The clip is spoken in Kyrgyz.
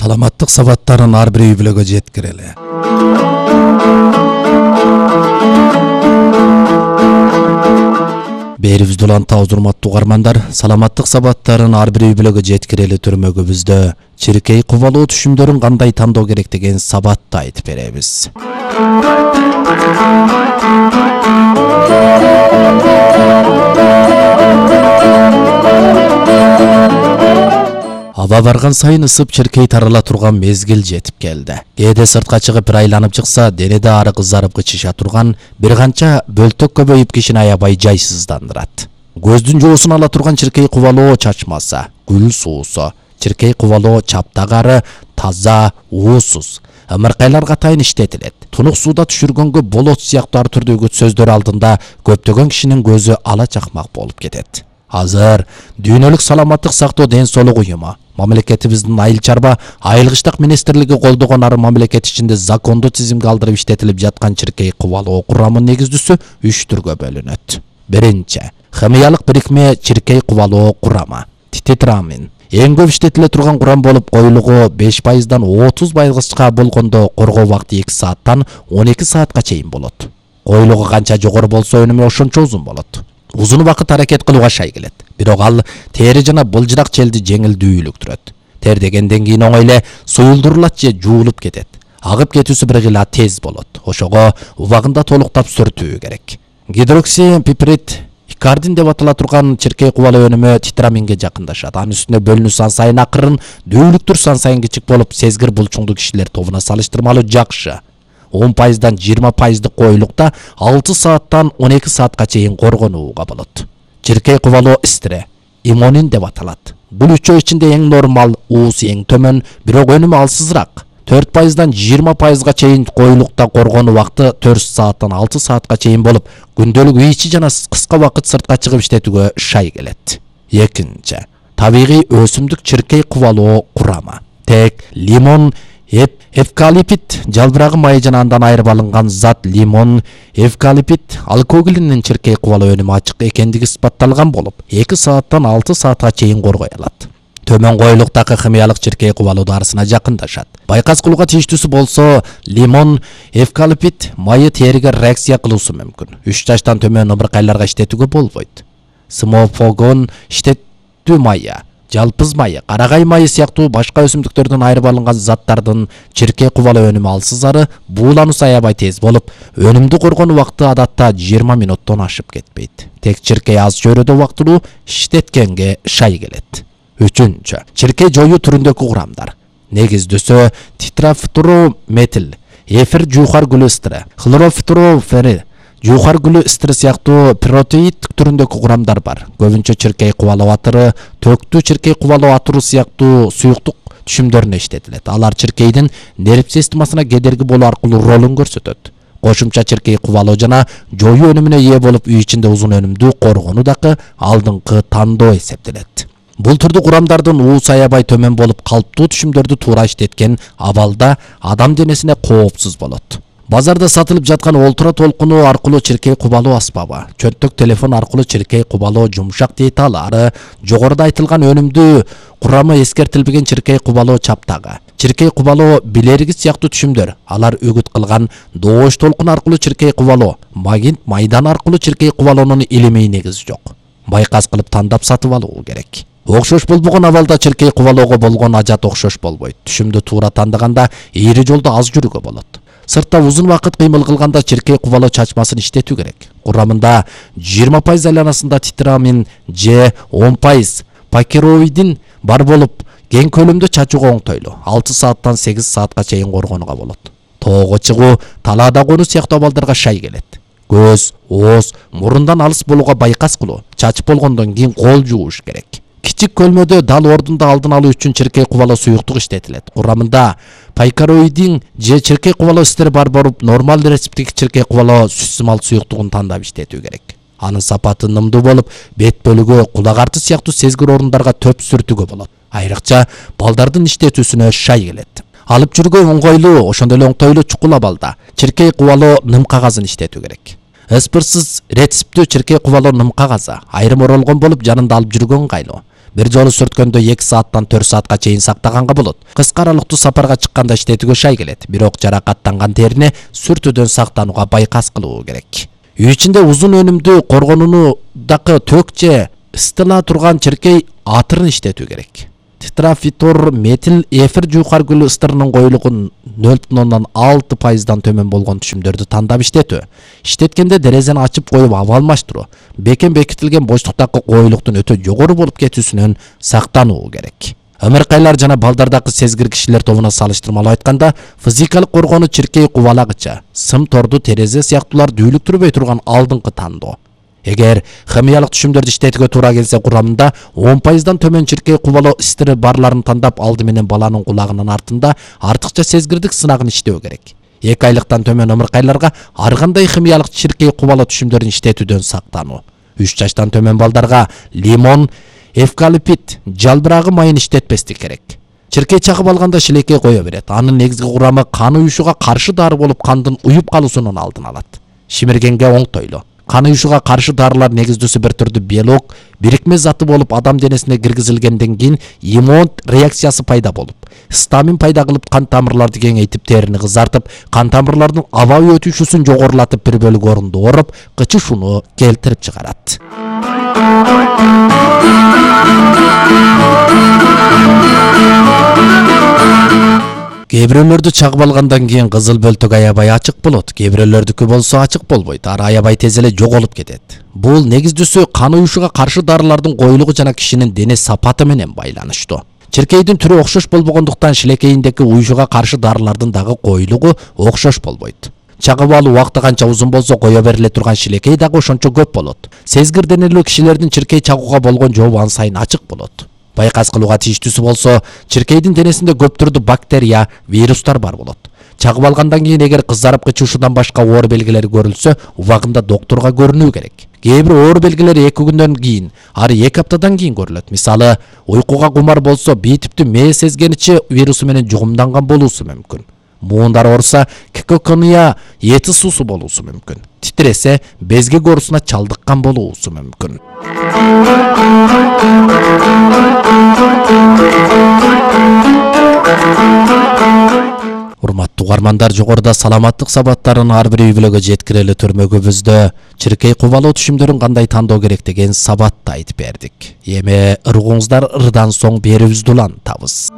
саламаттык сабаттарын ар бир үй бүлөгө жеткирели. Берибизде уланта урматтуу угармандар, саламаттык сабаттарын ар бир үй бүлөгө жеткирели түрмөгүбүздө чиркей кубалоо түшүмдөрүн кандай тандоо керек деген сабатты айтып беребиз. Аба барган сайын ысып чиркей тарала турган мезгил жетип келди. Кээде сыртка чыгып бир айланып чыкса, денеде ары кызарып кычыша турган бир канча бөлтөк көбөйүп кишини аябай жайсыздандырат. Көздүн жоосун ала турган чиркей кубалоо чачмаса, гүл суусу, чиркей кубалоо чаптагары таза, уусуз, ымыркайлар катайын иштетилет. Тунук сууда түшүргөнгө болот сыяктуу ар түрдөгү сөздөр алдында көптөгөн кишинин көзү ала чакмак болуп кетет. Азыр дүйнөлүк саламаттык сактоо ден соолук уюму, мамлекетибиздин айыл чарба айылгычтык министрлиги колдогон ары мамлекет ичинде закондуу тизимге алдырып иштетилип жаткан чиркей кубалоо курамынын негиздүүсү 3 түргө бөлүнөт. Биринчи, химиялык бирикме чиркей кубалоо курамы, титрамин. Эң көп иштетиле турган курам болуп, коюлугу 5%дан 30%га болгондо коргоо убакыты 2 сааттан 12 саатка чейин болот. Коюлугу канча жогору болсо өнүмү ошончо узун болот. Узун убакыт аракет кылууга шай келет. Бирок ал тери жана былжырак челди жеңилдүүлүктүрөт. Тер дегенден кийин оңой эле суюлдурулат же жуулуп кетет. Агып кетүүсү бир гыла тез болот. Ошого убагында толуктап сүртүү керек. Гидроксипиприт икардин деп атала турган чиркей кубалоо өнүмү титраминге жакындашат. Анын үстүнө бөлүнүү сан сайын акырын, дүүлүктүр сан сайын кичик болуп, сезгир булчуңдуу кишилер тобуна салыштырмалуу жакшы. 10%дан 20%дык коюлукта 6 сааттан 12 саатка чейин коргонууга болот. Чиркей кубалоо истире, имонин деп аталат. Бул үчөө ичинде эң нормал, уусу эң төмөн, бирок өнүмү алсызыраак. 4%дан 20%га чейин коюлукта коргонуу убакыты 4 сааттан 6 саатка чейин болуп, күндөлүк үй ичи жана кыска убакыт сыртка чыгып иштетүүгө шай келет. Экинчи, табигый өсүмдүк чиркей кубалоо курамы. Тек лимон, эвкалипт, жалбырагы майы жана андан айырып алынган зат лимон, эвкалипт алкоголинин чиркей кубалоо өнүмү ачык экендиги испатталган болуп, 2 сааттан 6 саатка чейин коргой алат. Төмөн коюлуктагы химиялык чиркей кубалоо дарысына жакындашат. Байкас кылууга тийиштүүсү болсо, лимон, эвкалипт майы териге реакция кылуусу мүмкүн. 3 жаштан төмөн ымыркайларга иштетүүгө болбойт. Смофогон иштетүү майы, жалпыз майы, карагай майы сыяктуу башка өсүмдүктөрдөн айырып алынган заттардын чиркей кубалоо өнүмү алсызары, буулануусу аябай тез болуп, өнүмдү коргонуу убакыты адатта 20 минуттон ашып кетпейт. Тек чиркей аз чөйрөдө убактылуу иштеткенге шай келет. Үчүнчү, чиркей жоюу түрүндөгү курамдар. Негиздүүсү тетрафторметил, эфир жуухар гүлү истири, хлорофторфери, жуухар гүлү истири сыяктуу протеид түрүндөгү курамдар бар. Көбүнчө чиркей кубалоо атыры, төктүү чиркей кубалоо атыру сыяктуу суюктук түшүмдөрүнө иштетилет. Алар чиркейдин нерв системасына кедерги болуу аркылуу ролун көрсөтөт. Кошумча чиркей кубалоо жана жоюу өнүмүнө ээ болуп, үй ичинде узун өнүмдүү коргонуу дагы алдыңкы тандоо эсептелет. Бул түрдүү курамдардын уусу аябай төмөн болуп, калптуу түшүмдөрдү туура иштеткен абалда адам денесине коопсуз болот. Базарда сатылып жаткан олтура толкуну аркылуу чиркей кубалоо аспабы, чөнтөк телефон аркылуу чиркей кубалоо жумшак деталары, жогоруда айтылган өнүмдүү курамы эскертилбеген чиркей кубалоо чаптагы, чиркей кубалоо билериги сыяктуу түшүмдөр, алар үгүт кылган доош толкуну аркылуу чиркей кубалоо, магнит майдан аркылуу чиркей кубалоонун илимий негизи жок. Байкас кылып тандап сатып алуу керек. Окшош болбогон абалда чиркей кубалоого болгон ажат окшош болбойт. Түшүмдү туура тандаганда ийри жолдо аз жүрүүгө болот. Сыртта узун убакыт кыймыл кылганда чиркей кубалоо чачмасын иштетүү керек. Курамында 20% айланасында титрамин же 10% пакероидин бар болуп, кең көлөмдө чачууга оңтойлуу. 6 сааттан 8 саатка чейин коргонууга болот. Тоого чыгуу, талаада конуу сыяктуу абалдарга шай келет. Көз, ооз, мурундан алыс болууга байкас кылуу, чачып болгондон кийин кол жууш керек. Кичик көлмөдө дал ордунда алдын алуу үчүн чиркей кубалоо суюктук иштетилет. Курамында пакероидин же чиркей кубалоо истери бар болуп, нормал рецептик чиркей кубалоо сүт-сымал суюктугун тандап иштетүү керек. Анын сапаты нымдуу болуп, бет бөлүгү, кулак арты сыяктуу сезгир орундарга төп сүртүүгө болот. Айрыкча балдардын иштетүүсүнө шай келет. Алып жүргөн оңойлуу, ошондой эле оңтойлуу чукул абалда чиркей кубалоо ным кагазын иштетүү керек. Ыспырсыз рецептүү чиркей кубалоо ным кагазы айрым оролгон болуп, жанында алып жүргөн ыңгайлуу. Бир жолу сүрткөндө 2 сааттан 4 саатка чейин сактаганга болот. Кыска аралыктуу сапарга чыкканда иштетүүгө шай келет. Бирок жаракаттанган терини сүртүүдөн сактанууга байкас кылуу керек. Үй ичинде узун өнүмдүү коргонуундагы төк же ыстыла турган чиркей атырын иштетүү керек. Тетрафитор метил эфир жуукар гүл ыстырынын коюлугун 0,6% төмөн болгон түшүмдөрдү тандап иштетүү. Иштеткенде дерезени ачып коюп аба алмаштыруу. Бекем бекитилген боштуктагы коюлуктун өтө жогору болуп кетүүсүнөн сактануу керек. Ымыркайлар жана балдардагы сезгир кишилер тобуна салыштырмалуу айтканда, физикалык коргонуу чиркей кубалагыча, сым торду, терезе сыяктуулар дүүлүктүрбөй турган алдыңкы тандоо. Эгер химиялык түшүмдөрдү иштетүүгө туура келсе, курамында 10% төмөн чиркей кубалоо истери барларын тандап алды менен баланын кулагынын артында артыкча сезгирдик сынагын иштөө керек. 2 айлыктан төмөн ымыркайларга ар кандай химиялык чиркей кубалоо түшүмдөрүн иштетүүдөн сактануу. 3 жаштан төмөн балдарга лимон, эвкалипт, жалбырагы майын иштетпестик керек. Чиркей чагып алганда шилекей кое берет. Анын негизги курамы кан уюшуга каршы дары болуп, кандын уюп калуусунун алдын алат. Шимиргенге оңтойлуу. Кан уюшуга каршы дарылар негиздүүсү бир түрдүү белок, бирикме заты болуп, адам денесине киргизилгенден кийин иммун реакциясы пайда болуп, стамин пайда кылып, кан тамырларды кеңейтип, терини кызартып, кан тамырлардын абай өтүшүсүн жогорулатып, бир бөлүгү орунду ооруп, кычышууну келтирип чыгарат. Кээ бирөөлөрдү чагып алгандан кийин кызыл бөлтөк аябай ачык болот. Кээ бирөөлөрдүкү болсо ачык болбойт. Ар аябай тез эле жоголуп кетет. Бул негиздүүсү кан уюшуга каршы дарылардын коюлугу жана кишинин дене сапаты менен байланыштуу. Чиркейдин түрү окшош болбогондуктан шилекейиндеги уюшуга каршы дарылардын дагы коюлугу окшош болбойт. Чагып алуу убакыты канча узун болсо, кое бериле турган шилекей дагы ошончо көп болот. Сезгир денелүү кишилердин чиркей чагууга болгон жообу ан сайын ачык болот. Байкас кылууга тийиштүүсү болсо, чиркейдин денесинде көп түрдүү бактерия, вирустар бар болот. Чагып алгандан кийин эгер кызарып кычуушудан башка оор белгилери көрүлсө, убагында доктурга көрүнүү керек. Кээ бир оор белгилер 2 күндөн кийин, ары 2 аптадан кийин көрүлөт. Мисалы, уйкуга кумар болсо, бийитиптүү мээ сезгеничи вирусу менен жугумданган болуусу мүмкүн. Муундар ооруса, кекокония эти суусу болуусу мүмкүн. Титресе, безгек оорусуна чалдыккан болуусу мүмкүн. Урматтуу угармандар, жогоруда саламаттык сабаттарын ар бир үй-бүлөгө жеткирели төрмөгүбүздө чиркей кубалоо түшүмдөрүн кандай тандоо керек деген сабатты айтып бердик. Эми ыргууңуздар ырдан соң берүүбүздү улантабыз.